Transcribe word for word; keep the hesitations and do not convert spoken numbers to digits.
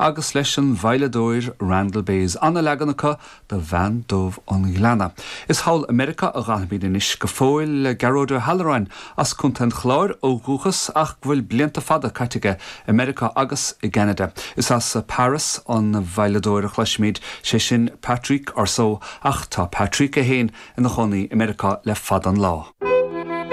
agus leis an veidhleadóir Randall Bays an-leagan acu de Bhean Dubh an Ghleanna. Is thall i Meiriceá a ghabhaimid anois go fóill le Gearóid Ó hAlluráin as Contae an Chláir ó dhúchas ach go bhfuil blianta fada caite aige i Meiriceá agus i gCeanada. Is as Paris an veidhleadóir a chloisfimid sé sin Patrick Orsó ach tá Patrick é féin ina chónaí i Meiriceá le fada an lá.